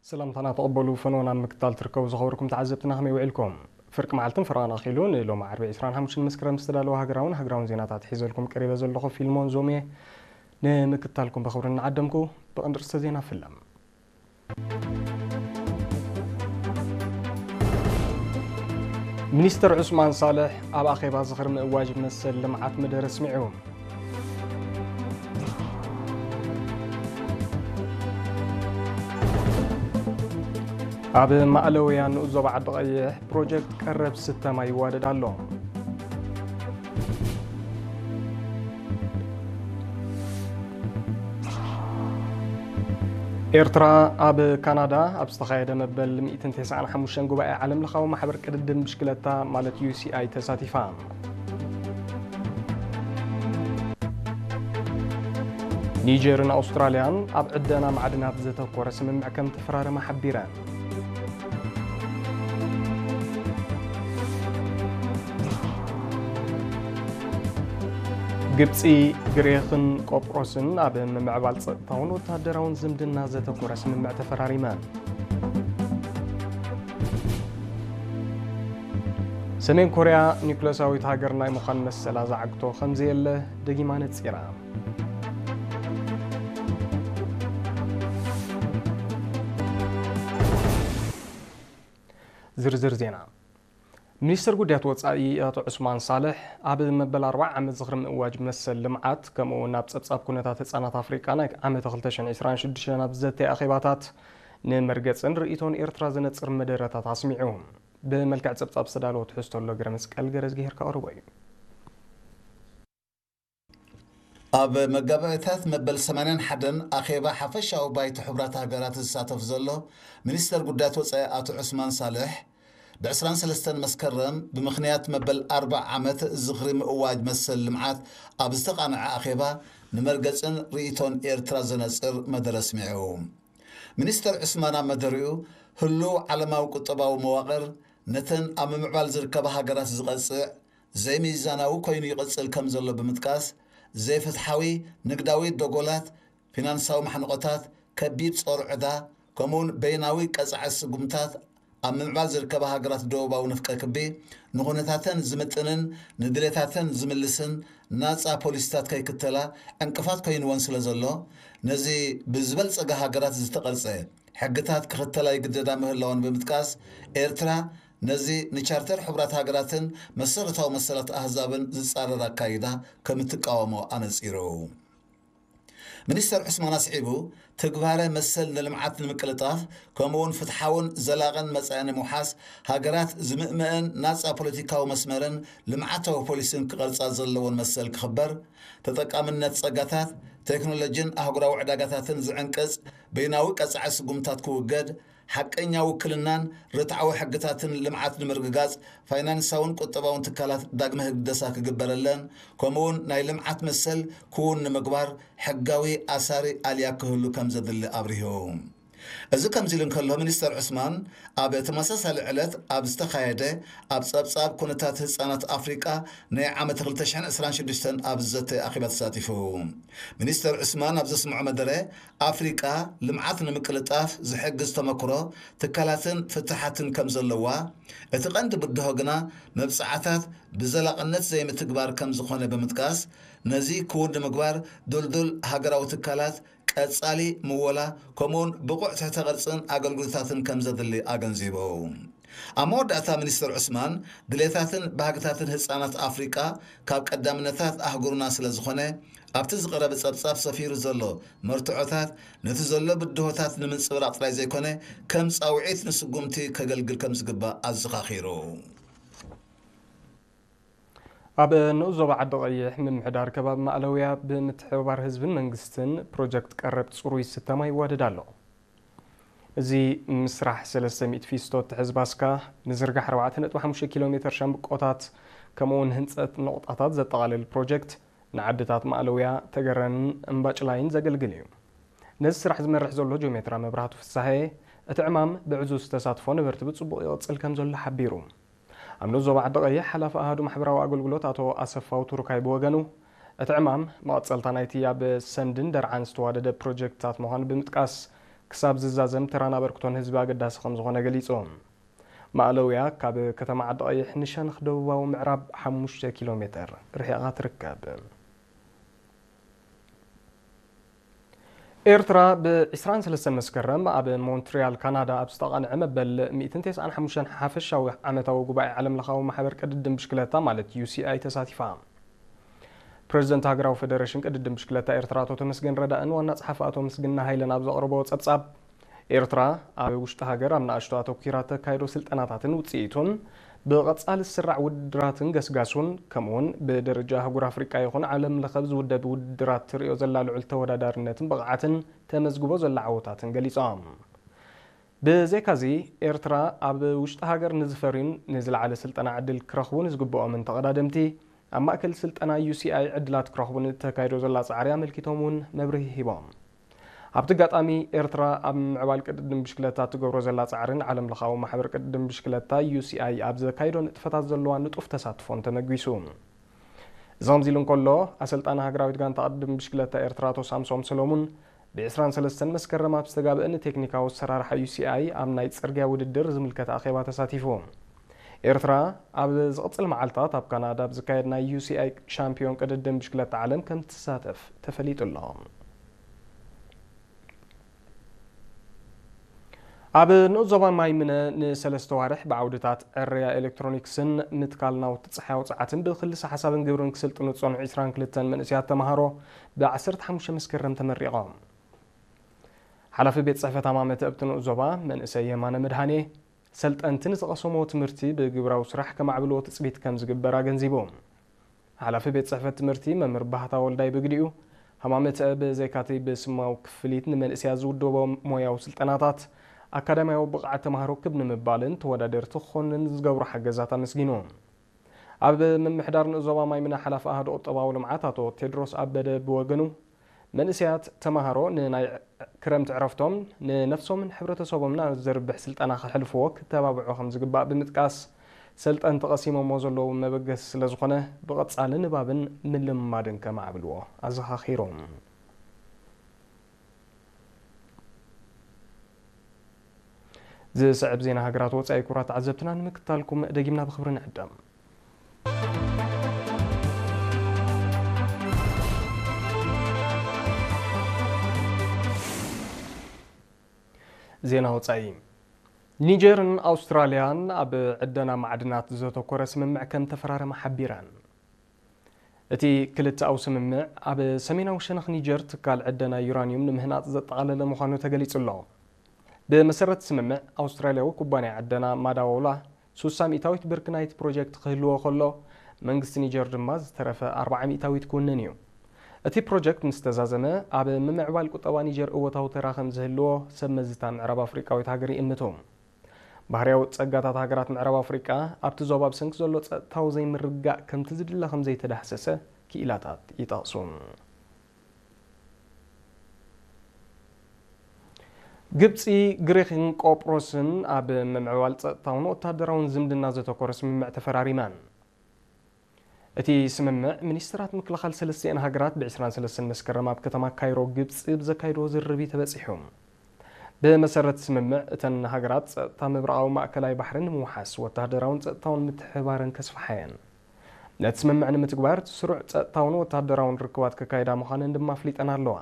ሰላምታና ተቐበሉ፣ ፈኖና ኣብ ምክታል ትርከቡ ዝኸበርኩም ተዓዘብትና ከመይ ውዒልኩም? ፍርቂ መዓልትን ፈረቓን ኣኺሉ ንሎሚ ዓርቢ ዕስራን ሓሙሽተን መስከረም ዝተዳለወ ሃገራውን ሃገራውን ዜናታት ሒዘልኩም ቀሪበ ዘለኹ ፊልሞን ዞሜ። ንምክታልኩም ብኽብሪ እናዓደምኩ ብቐንዲ ርእስተ ዜና ፍለም። ሚኒስተር ዑስማን ሳልሕ ኣብ ኣኼባ ዝኽሪ ምእዋጅ መሰል ልምዓት መደረ ኣስሚዑ። ኣብ ማእለውያን ንኡስ ዞባ ዓዲ ቀይሕ ፕሮጀክት ቀረብ ስተማ ይዋደድ ኣሎ። ኤርትራ ኣብ ካናዳ ኣብ ዝተኻየደ መበል ሚእትን ተስዓን ሓሙሽተን ጉባኤ ዓለም ለኻዊ ማሕበር ቅድድም ብሽክለታ ማለት ዩ ሲ ኣይ ተሳቲፋ። ኒጀርን ኣውስትራልያን ኣብ ዕደና ማዕድናት ዘተኮረ ስምምዕ ከም ተፈራረማ ሓቢረን። ግብጺ፣ ግሪኽን ቆጵሮስን ኣብ ምምዕባል ጸጥታውን ወተሃደራውን ዝምድና ዘተኮረ ስምምዕ ተፈራሪመን። ሰሜን ኮርያ ኒውክለሳዊት ሃገር ናይ ምዃን መሰላ ዝዓግቶ ከም ዘየለ ደጊማ ነጺራ። ዝርዝር ዜና። ሚኒስትር ጉዳያት ወጻኢ ኣቶ ዑስማን ሳልሕ ኣብ መበል ኣርብዓ ዓመት ዝኽሪ ምእዋጅ መሰል ልምዓት፣ ከምኡ እውን ናብ ጸብጻብ ኩነታት ህጻናት ኣፍሪቃ ናይ ዓመት ክልተ ሽሕን ዕስራን ሽዱሽተን ኣብ ዘተ ኣኼባታት ንመርገጽን ርእይቶን ኤርትራ ዘነጽር መደረታት ኣስሚዑ። ብመልክዕ ጸብጻብ ዝተዳለወ ትሕዝቶ ኣሎ ገረ መስቀል ገረዝጊሄር ከቕርቦ እዩ። ኣብ መጋባእታት መበል ሰማንያን ሓደን ኣኼባ ሓፈሻዊ ባይቶ ሕቡራት ሃገራት ዝሳተፍ ዘሎ ሚኒስተር ጉዳያት ወጻኢ ኣቶ ዑስማን ሳልሕ፣ ብ ዕስራን ሰለስተን መስከረም ብምኽንያት መበል ኣርብዓ ዓመት ዝኽሪ ምእዋጅ መሰል ልምዓት ኣብ ዝተቓንዐ ኣኼባ ንመርገጽን ርእይቶን ኤርትራ ዘነጽር መደረ ኣስሚዑ። ሚኒስተር ዑስማን ኣብ መደርኡ፣ ህሉው ዓለማዊ ቁጠባዊ መዋቕር ነተን ኣብ ምምዕባል ዝርከባ ሃገራት ዝቐጽዕ ዘይሚዛናዊ ኮይኑ ይቕጽል ከም ዘሎ ብምጥቃስ፣ ዘይፍትሓዊ ንግዳዊ ደጎላት፣ ፊናንሳዊ ማሕንቖታት፣ ከቢድ ጾር ዕዳ፣ ከምኡውን በይናዊ ቀጻዒ ስጉምታት ኣብ ምምዕባል ዝርከባ ሃገራት ደቡባዊ ንፍቀ ክቢ ንኹነታተን ዝምጥንን ንድሌታተን ዝምልስን ናጻ ፖሊሲታት ከይክተላ ዕንቅፋት ኮይንወን ስለ ዘሎ፣ ነዚ ብዝበልጸጋ ሃገራት ዝተቐርጸ ሕግታት ክኽተላ ይግደዳ ምህላወን ብምጥቃስ፣ ኤርትራ ነዚ ንቻርተር ሕቡራት ሃገራትን መሰረታዊ መሰላት ኣህዛብን ዝጻረር ኣካይዳ ከም እትቃወሞ ኣነጺሩ። ሚኒስተር ዑስማን ኣስዒቡ፣ ትግባረ መሰል ንልምዓት ንምቅልጣፍ፣ ከምኡውን ፍትሓውን ዘላቕን መጻኢ ንምውሓስ፣ ሃገራት ዝምእመአን ናጻ ፖለቲካዊ መስመርን ልምዓታዊ ፖሊሲን ክቐርጻ ዘለወን መሰል ክኽበር፣ ተጠቃምነት ጸጋታት፣ ቴክኖሎጂን ኣህጉራዊ ዕዳጋታትን ዝዕንቅጽ በይናዊ ቀጻዒ ስጉምታት ክውገድ፣ ሓቀኛ ውክልናን ርትዓዊ ሕግታትን ልምዓት ንምርግጋጽ ፋይናንሳውን ቁጠባውን ትካላት ዳግመ ህግደሳ ክግበረለን፣ ከምኡውን ናይ ልምዓት መሰል ክውን ንምግባር ሕጋዊ ኣሳሪ ኣልያ ክህሉ ከም ዘድሊ ኣብሪሁ። እዚ ከምዚ ኢሉ እንከሎ፣ ሚኒስተር ዑስማን ኣብ ተመሳሳሊ ዕለት ኣብ ዝተኻየደ ኣብ ጸብጻብ ኩነታት ህጻናት ኣፍሪቃ ናይ ዓመት ክልተ ሽሕን ዕስራን ሽዱሽተን ኣብ ዝዘተ ኣኼባ ተሳቲፉ። ሚኒስተር ዑስማን ኣብ ዘስምዖ መደረ፣ ኣፍሪቃ ልምዓት ንምቅልጣፍ ዝሕግዝ ተመክሮ፣ ትካላትን ፍትሓትን ከም ዘለዋ፣ እቲ ቀንዲ ብድሆ ግና መብጽዓታት ብዘላቕነት ዘይምትግባር ከም ዝኾነ ብምጥቃስ፣ ነዚ ክውን ንምግባር ድልዱል ሃገራዊ ትካላት ቀጻሊ ምወላ፣ ከምኡውን ብቑዕ ትሕተ ቅርጽን ኣገልግሎታትን ከም ዘድሊ ኣገንዚቡ። ኣብ መወዳእታ ሚኒስተር ዑስማን፣ ድሌታትን ባህግታትን ህጻናት ኣፍሪቃ ካብ ቀዳምነታት ኣህጉርና ስለ ዝኾነ፣ ኣብቲ ዝቐረበ ጸብጻብ ሰፊሩ ዘሎ መርትዖታት ነቲ ዘሎ ብድሆታት ንምንጽብራቕ ጥራይ ዘይኮነ፣ ከም ጻውዒት ንስጉምቲ ከገልግል ከም ዝግባእ ኣዘኻኺሩ። ኣብ ንኡስ ዞባ ዓዲ ቀይሕ ምምሕዳር ከባቢ ማእለውያ ብምትሕብባር ህዝብን መንግስትን ፕሮጀክት ቀረብ ጽሩይ ስተ ማይ ይዋደድ ኣሎ። እዚ ምስራሕ ሰለስተ ሚእቲ ፊስቶ እትሕዝ ባስካ፣ ምዝርጋሕ ኣርባዕተ ነጥቢ ሓሙሽተ ኪሎ ሜተር ሻምብቆታት፣ ከምኡውን ህንጸት ነቑጣታት ዘጠቓልል ፕሮጀክት ንዓድታት ማእለውያ፣ ተገረንን እምባጭላይን ዘገልግል እዩ። ነዚ ስራሕ ዝመርሕ ዘሎ ጂኦሜትራ መብራህቱ ፍሳሐየ፣ እቲ ዕማም ብዕዙዝ ተሳትፎ ነበርቲ ብጽቡቕ ይቕጽል ከም ዘሎ ሓቢሩ። ኣብ ንኡስ ዞባ ዓዲ ቀይሕ ሓላፊ ኣሃዱ ማሕበራዊ ኣገልግሎት ኣቶ ኣሰፋው ቱርካይ ብወገኑ፣ እቲ ዕማም መቐጸልታ ናይቲ ኣብ ሰንድን ደርዓን ዝተዋደደ ፕሮጀክትታት ምዃኑ ብምጥቃስ፣ ክሳብ ዝዛዘም ተራን ኣበርክቶን ህዝቢ ኣገዳሲ ከም ዝኾነ ገሊጹ። ማእለውያ ካብ ከተማ ዓዲ ቀይሕ ንሸነኽ ደቡባዊ ምዕራብ ሓሙሽተ ኪሎ ሜተር ርሒቓ ትርከብ። ኤርትራ ብ ዕስራን ሰለስተን መስከረም ኣብ ሞንትሪያል ካናዳ ኣብ ዝተቓንዐ መበል ሚእትን ተስዓን ሓሙሽተን ሓፈሻዊ ዓመታዊ ጉባኤ ዓለም ለኻዊ ማሕበር ቅድድም ብሽክለታ ማለት ዩ ሲ ኣይ ተሳቲፋ። ፕረዚደንት ሃገራዊ ፈደረሽን ቅድድም ብሽክለታ ኤርትራ ኣቶ ተመስገን ረዳእን ዋና ጸሓፊ ኣቶ ምስግና ሃይለን ኣብ ዘቕረቦ ጸብጻብ፣ ኤርትራ ኣብ ውሽጢ ሃገር ኣብ ንኣሽቱ ኣተኲራ ተካይዶ ስልጠናታትን ውጽኢቱን፣ ብቐጻሊ ዝስራዕ ውድድራትን ገስጋሱን፣ ከምኡውን ብደረጃ ኣህጉር ኣፍሪቃ ይኹን ዓለም ለኸ ዝውደብ ውድድራት ትርእዮ ዘላ ልዑል ተወዳዳርነትን ብቕዓትን ተመዝግቦ ዘላ ዓወታትን ገሊጾም። ብዘይካዚ፣ ኤርትራ ኣብ ውሽጢ ሃገር ንዝፈርዩን ንዝለዓለ ስልጠና ዕድል ክረኽቡን ዝግብኦምን ተቐዳደምቲ ኣብ ማእከል ስልጠና ዩ ሲ ኣይ ዕድላት ክረኽቡ ንተካይዶ ዘላ ጻዕሪ ኣመልኪቶም እውን መብርሂ ሂቦም። ኣብቲ ኣጋጣሚ፣ ኤርትራ ኣብ ምምዕባል ቅድድም ብሽክለታ ትገብሮ ዘላ ጻዕርን ዓለም ለኻዊ ማሕበር ቅድድም ብሽክለታ ዩ ሲ ኣይ ኣብ ዘካይዶ ንጥፈታት ዘለዋ ንጡፍ ተሳትፎን ተመጒሱ። እዚ ከምዚ ኢሉ እንከሎ፣ ኣሰልጣኒ ሃገራዊት ጋንታ ቅድድም ብሽክለታ ኤርትራ ኣቶ ሳምሶም ሰሎሙን ብ ዕስራን ሰለስተን መስከረም ኣብ ዝተጋብአ ንቴክኒካዊ ኣሰራርሓ ዩ ሲ ኣይ ኣብ ናይ ጽርግያ ውድድር ዝምልከት ኣኼባ ተሳቲፉ። ኤርትራ ኣብ ዝቕጽል መዓልታት ኣብ ካናዳ ኣብ ዝካየድ ናይ ዩ ሲ ኣይ ሻምፒዮን ቅድድም ብሽክለታ ዓለም ከም ትሳተፍ ተፈሊጡ ኣሎ። ኣብ ንኡስ ዞባ ማይ ምነ ንሰለስተ ዋርሕ ብዓውድታት ዕርያ ኤሌክትሮኒክስን ምትካል ናውቲ ጸሓያዊ ጸዓትን ብክልሰ ሓሳብን ግብርን ክስልጥኑ ዝጸንሑ ዕስራን ክልተን መንእሰያት ተማሃሮ ብ ዓሰርተ ሓሙሽተ መስከረም ተመሪቖም። ሓላፊ ቤት ጽሕፈት ኣማመተ ኣብቲ ንኡስ ዞባ መንእሰይ የማነ መድሃኔ፣ ሰልጠንቲ ንዝቐሰምዎ ትምህርቲ ብግብራዊ ስራሕ ከማዕብልዎ ትጽቢት ከም ዝግበር ኣገንዚቡ። ሓላፊ ቤት ጽሕፈት ትምህርቲ መምህር ባህታ ወልዳይ ብግዲኡ፣ ሃማመተ ብዘይካቲ ብስማዊ ክፍሊት ንመንእሰያት ዝውደቦ ሞያዊ ስልጠናታት፣ ኣካዳሚያዊ ብቕዓት ተማሃሮ ክብ ንምባልን ተወዳደርቲ ክኾኑን ዝገብሮ ሓገዛት ኣመስጊኑ። ኣብ ምምሕዳር ንኡስ ዞባ ማይ ምነ ሓላፊ ኣሃዱ ቁጠባዊ ልምዓት ኣቶ ቴድሮስ ኣበደ ብወገኑ፣ መንእሰያት ተማሃሮ ንናይ ክረምቲ ዕረፍቶም ንነፍሶምን ሕብረተሰቦምን ኣብ ዘርብሕ ስልጠና ከሕልፍዎ ክተባብዑ ከም ዝግባእ ብምጥቃስ፣ ሰልጠንቲ ቀሲሞሞ ዘለዉ መበገሲ ስለ ዝኾነ፣ ብቐጻሊ ንባብን ምልምማድን ከማዕብልዎ ኣዘኻኺሮም። ዝስዕብ ዜና ሃገራት ወጻኢ ክቡራት ተዓዘብትና ንምክታልኩም ደጊምና ብኽብሪ ንዕደም። ዜና ወጻኢ። ኒጀርን ኣውስትራልያን ኣብ ዕደና ማዕድናት ዘተኮረ ስምምዕ ከም ተፈራረማ ሓቢረን። እቲ ክልተኣዊ ስምምዕ ኣብ ሰሜናዊ ሸነኽ ኒጀር ትካል ዕደና ዩራኒየም ንምህናጽ ዘጠቓለለ ምዃኑ ተገሊጹ ኣሎ። ብመሰረት ስምምዕ፣ ኣውስትራልያዊ ኩባንያ ዕደና ማዳዎላ ሱሳ ሚእታዊት ብርኪ ናይቲ ፕሮጀክት ክህልዎ ከሎ፣ መንግስቲ ኒጀር ድማ ዝተረፈ ኣርብዓ ሚእታዊት ክውንን እዩ። እቲ ፕሮጀክት ምስ ተዛዘመ፣ ኣብ ምምዕባል ቁጠባ ኒጀር እወታዊ ተራ ከም ዝህልዎ ሰብ መዝታ ምዕራብ ኣፍሪቃዊት ሃገር ይእምቱ። ባህርያዊ ጸጋታት ሃገራት ምዕራብ ኣፍሪቃ ኣብቲ ዞባ ብሰንኪ ዘሎ ጸጥታዊ ዘይምርግጋእ ከምቲ ዝድለ ከም ዘይተዳህሰሰ ክኢላታት ይጠቕሱ። ግብጺ፣ ግሪኽን ቆጵሮስን ኣብ ምምዕባል ጸጥታውን ወተሃደራውን ዝምድና ዘተኮረ ስምምዕ ተፈራሪመን። እቲ ስምምዕ፣ ሚኒስትራት ምክልኻል ሰለስቲኤን ሃገራት ብ ዕስራን ሰለስተን መስከረም ኣብ ከተማ ካይሮ ግብጺ ብዘካይድዎ ዝርርብ እዩ ተበጺሑ። ብመሰረት ስምምዕ፣ እተን ሃገራት ጸጥታ ምብራቓዊ ማእከላይ ባሕሪ ንምውሓስ ወተሃደራውን ጸጥታውን ምትሕብባረን ከስፍሓ እየን። ነቲ ስምምዕ ንምትግባር ስሩዕ ጸጥታውን ወተሃደራውን ርክባት ከካይዳ ምዃነን ድማ ኣፍሊጠን ኣለዋ።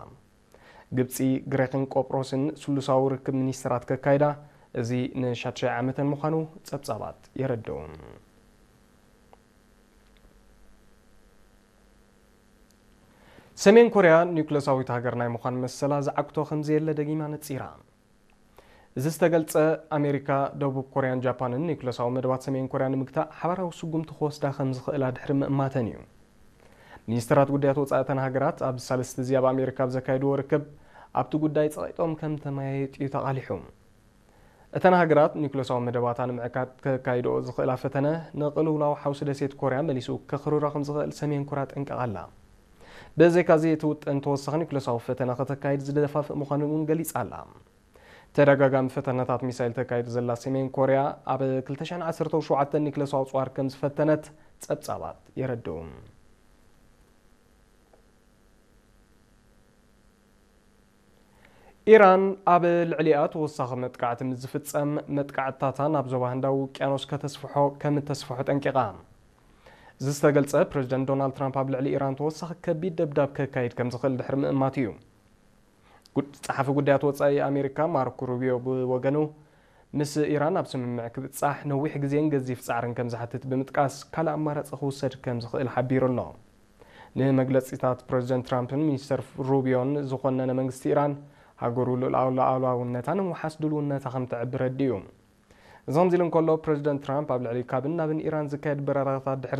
ግብጺ፣ ግሪኽን ቆጵሮስን ስሉሳዊ ርክብ ሚኒስትራት ከካይዳ፣ እዚ ንሻድሻይ ዓመተን ምዃኑ ጸብጻባት የረድኡ። ሰሜን ኮርያ ኒውክለሳዊት ሃገር ናይ ምዃን መሰላ ዝዓግቶ ከም ዘየለ ደጊማ ነጺራ። እዚ ዝተገልጸ፣ ኣሜሪካ፣ ደቡብ ኮርያን ጃፓንን ኒውክለሳዊ መደባት ሰሜን ኮርያ ንምግታእ ሓባራዊ ስጉምቲ ክወስዳ ከም ዝኽእላ ድሕሪ ምእማተን እዩ። ሚኒስትራት ጉዳያት ወጻኢ እተን ሃገራት ኣብዚ ሳልስቲ እዚ ኣብ ኣሜሪካ ኣብ ዘካየድዎ ርክብ ኣብቲ ጉዳይ ጸቒጦም ከም ተመያየጡ እዩ ተቓሊሑ። እተን ሃገራት ኒውክለሳዊ መደባታ ንምዕካት ከካይድኦ ዝኽእላ ፈተነ ንቕልውላው ሓውሲ ደሴት ኮርያ መሊሱ ከኽርሮ ከም ዝኽእል ሰሜን ኮርያ ጠንቀቓ ኣላ። ብዘይካዚ እቲ ውጥን ተወሳኺ ኒውክለሳዊ ፈተነ ከተካይድ ዝደፋፍእ ምዃኑ እውን ገሊጻ ኣላ። ተደጋጋሚ ፈተነታት ሚሳይል ተካይድ ዘላ ሰሜን ኮርያ ኣብ ክልተ ሽሕን ዓሰርተን ሸውዓተን ኒውክለሳዊ ኣጽዋር ከም ዝፈተነት ጸብጻባት የረድኡ። ኢራን ኣብ ልዕሊኣ ተወሳኺ መጥቃዕቲ ምስ ዝፍጸም፣ መጥቃዕትታታ ናብ ዞባ ህንዳዊ ውቅያኖስ ከተስፍሖ ከም እተስፍሖ ጠንቂቓ። እዚ ዝተገልጸ፣ ፕረዚደንት ዶናልድ ትራምፕ ኣብ ልዕሊ ኢራን ተወሳኺ ከቢድ ደብዳብ ከካይድ ከም ዝኽእል ድሕሪ ምእማት እዩ። ጉድ-፣ ጸሓፊ ጉዳያት ወጻኢ ኣሜሪካ ማርኮ ሩቢዮ ብወገኑ፣ ምስ ኢራን ኣብ ስምምዕ ክብጻሕ ነዊሕ ግዜን ገዚፍ ጻዕርን ከም ዝሓትት ብምጥቃስ፣ ካልእ ኣማራጺ ክውሰድ ከም ዝኽእል ሓቢሩ ኣሎ። ንመግለጺታት ፕረዚደንት ትራምፕን ሚኒስተር ሩቢዮን ዝኾነነ መንግስቲ ኢራን፣ ሃገሩ ልኡላዊ ሉዓላውነታ ንምውሓስ ድልውነታ ከም ተዕብር ኣዲኡ። እዚ ከምዚ ኢሉ እንከሎ፣ ፕረዚደንት ትራምፕ ኣብ ልዕሊ ካብን ናብን ኢራን ዝካየድ በረራታት ድሕሪ